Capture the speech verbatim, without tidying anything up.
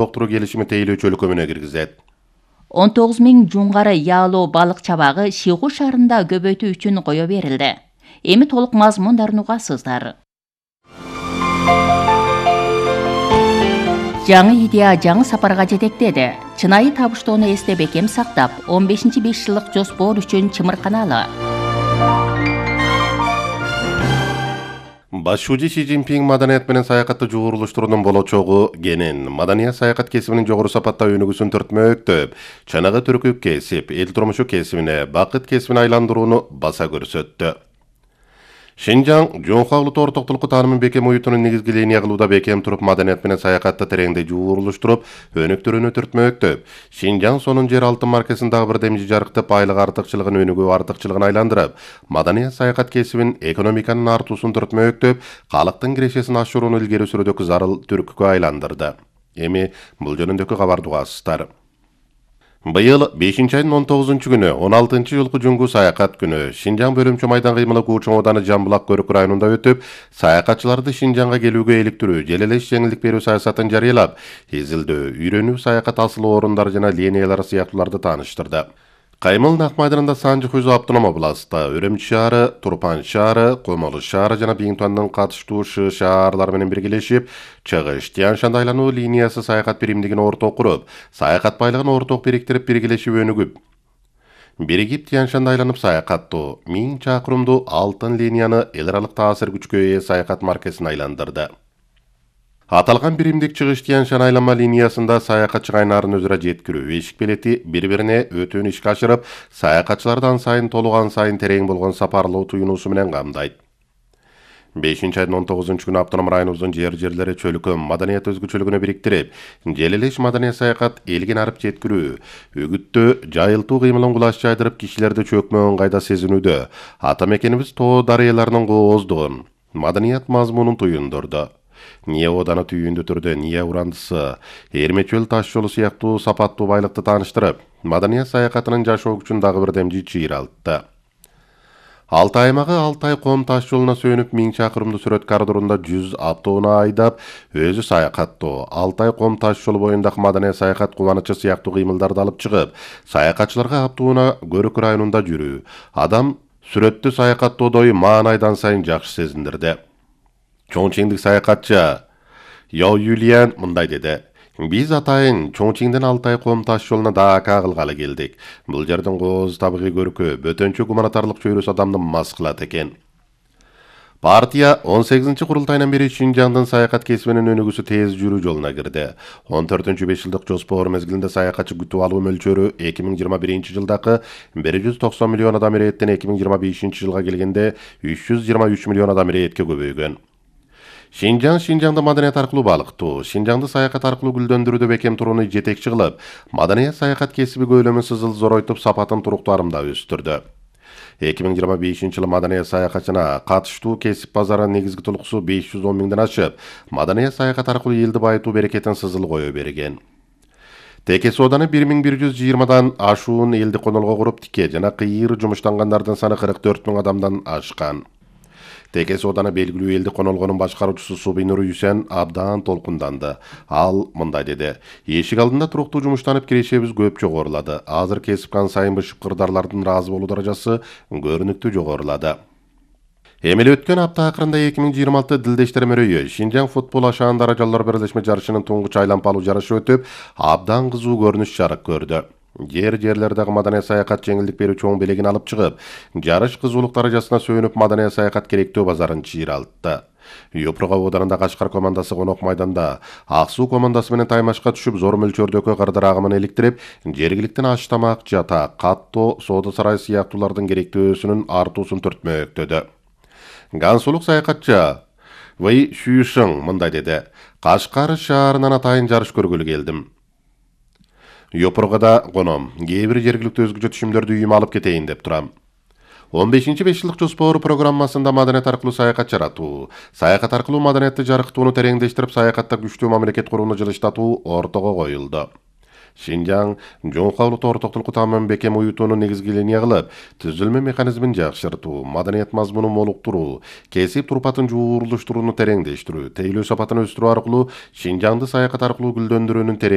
доктуру келишими тейлөө чөлкөмүнө киргизет. он тогуз миң жунгары яалоо балык чабагы Шыйгуу шаарында көбөйтүү үчүн кое берилди. Эми толук мазмундарын угасыздар. Жаңы идея жаңы сапарга жетектеди. Чынайы табыштоону эсте бекем сактап, он бешинчи беш жылдык жоспор үчүн чымырканалы. Башчы Си Цзиньпин маданият менен саякатты жуурулуштуруунун болочогу кенен. Маданият саякат кесибинин жогору сапатта өнүгүүсүн төртмөктөп, чанага түркүп кесип, эл турмушу кесибине, бакыт кесибине айландырууну баса көрсөттү. Шинжаң Жоңхо улуттук ортоктулукку таанымын бекем уютунун негизги линия кылууда бекем туруп, маданият менен саякатты тереңдей жуурулуштуруп, өнүктүрүүнү түртмөктөп, Шинжаң сонун жер алтын маркесин дагы бир демжи жарыктап, айлык артыкчылыгын өнүгүү артыкчылыгын айландырып, маданият саякат кесибин, экономиканын артуусун түртмөктөп, калктын кирешесин ашырууну илгери сүрүүдөгү зарыл түрткүгө айландырды. Эми бул жөнүндөгү кабарды угасыздар. Быйыл бешинчи айдын он тогузунчу күнү он алтынчы жылкы жүнгү саякат күнү Шинжаң бөлүмчө майдан кыймылы Кучуң ооданы Жамбылак көрүк районунда өтүп, саякатчыларды Шинжаңга келүүгө иликтирүү, желелеш жеңилдик берүү саясатын жарыялап, изилдөө, үйрөнүү саякат асыл орундары жана линиялары сыяктууларды тааныштырды. Каймыл Нак майданында Санжы Хузу автоном областта, Өрөмчү шаары, Турпан шаары, Комолу шаары жана Биңтуандын катыштуу Шы шаарлары менен биргелешип, Чыгыш Тянь-Шанд айлануу линиясы саякат биримдигин орток куруп, саякат байлыгын орток бириктирип биргелешип өнүгүп, биригип Тянь-Шанд айланып саякаттуу миң чакырымдуу алтын линияны эл аралык таасир күчкө ээ саякат маркесин айландырды. Аталган биримдик Чыгыш Тянь-Шанд айланма линиясында саякатчы кайнарын өзүрө жеткирүү, эшик белети бири-бирине өтүүнү ишке ашырып, саякатчыларды ан сайын толуган сайын терең болгон сапарлоо туюнуусу менен камдайт. бешинчи айдын он тогузунчу күнү автоном районубуздун жер жерлери чөлкөм маданият өзгөчөлүгүнө бириктирип, желелеш маданият саякат элгин арып жеткирүү, үгүттөө, жайылтуу кыймылын кулаш жайдырып, кишилерди чөкмө ыңгайда сезинүүдө, ата мекенибиз тоо дарыяларынын кооздугун, маданият мазмунун туюндурду. Ния ооданы түйүндү түрдө Ния урандысы, Эрмечөл таш жолу сыяктуу сапаттуу байлыкты тааныштырып, маданият саякатынын жашоо күчүн дагы бир демжи чыйралтты. Алтай аймагы Алтай ком таш жолуна сөнүп, миң чакырымдуу сүрөт коридорунда жүз автоуну айдап, өзү саякаттоо, Алтай ком таш жолу боюндагы маданият саякат кубанычы сыяктуу кыймылдарды алып чыгып, саякатчыларга автоуна Көрүк районунда жүрүү, адам сүрөттү саякаттоодой маанайдан сайын жакшы сезиндирди. Чоңчиңдик саякатчы Яо Юлиан мындай деди: Биз атайын Чоңчиңден Алтай ком таш жолуна даaka кылгалы келдик. Бул жердин кооз табигый көркү, бөтөнчө гуманитарлык чөйрөсү адамды мас кылат экен. Партия он сегизинчи курултайынан бери Шинжаңдын саякат кесибинин өнүгүүсү тез жүрүү жолуна кирди. он төртүнчү беш жылдык жоспор мезгилинде саякатчы күтүп алуу мөлчөрү эки миң жыйырма биринчи жылдагы бир жүз токсон миллион адам ирээттен эки миң жыйырма бешинчи жылга келгенде үч жүз жыйырма үч миллион адам ирээтке көбөйгөн. Шинжаң Шинжаңды маданият аркылуу балыктоо, Шинжаңды саякат аркылуу гүлдөндүрүүдө бекем турууну жетекчи кылып, маданият саякат кесиби көлөмүн сызыл зоройтуп, сапатын туруктуу арымдап өстүрдү. эки миң жыйырма бешинчи жылы маданият саякатчына катыштуу кесип базарынын негизги толукусу беш жүз он миңден ашып, маданият саякат аркылуу элди байытуу берекетин сызыл кое берген. Теке сооданы бир миң бир жүз жыйырмадан ашуун элди конолго куруп, тике жана кыйыр жумуштангандардын саны кырк төрт миң адамдан ашкан. Теке сооданы белгилүү элди конолгонун башкаруучусу Субинур Юсен абдан толкунданды. Ал мындай деди: Эшик алдында туруктуу жумуштанып кирешебиз көп жогорулады. Азыр кесип кан сайын бышык кырдарлардын ыраазы болуу даражасы көрүнүктүү жогорулады. Эми эле өткөн апта акырында эки миң жыйырма алты Дилдештер мөрөйү Шинжаң футбол ашаан даражалар бирлешме жарышынын туңгуч айлампалуу жарышы өтүп, абдан кызуу көрүнүш жарык көрдү. Жер жерлердеги маданият саякат жеңилдик берүү чоң белегин алып чыгып, жарыш кызуулук даражасына сүйүнүп, маданият саякат керектөө базарын чыйралтты. Юпруга оодарында Кашкар командасы Конок майданда, Ак суу командасы менен таймашка түшүп, зор мөлчөрдөгү кырдыр агымын эликтирип, жергиликтин аш тамак, жатак, каттоо, соода сарай сыяктуулардын керектөөсүнүн артуусун төртмөктөдү. Гансулук саякатчы Вэй Шүйшиң мындай деди: Кашкар шаарынан атайын жарыш көргөлү келдим. Юпругада коном, кээ бир жергиликтүү өзгөчө түшүмдөрдү үйүмө алып кетейин деп турам. он бешинчи беш жылдык жоспор программасында маданият аркылуу саякат жаратуу, саякат аркылуу маданиятты жарыктууну тереңдештирип, саякатта күчтүү мамлекет курууну жылыштатуу ортого коюлду. Шинжаң Жоңхо улуттук ортоктулукку таанымын бекем уютууну негизги линия кылып, түзүлмө механизмин жакшыртуу, маданият мазмунун молуктуруу, кесип турпатын жуурулуштурууну тереңдештирүү, тейлөө сапатын өстүрүү аркылуу Шинжаңды саякат аркылуу гүлдөндүрүүнүн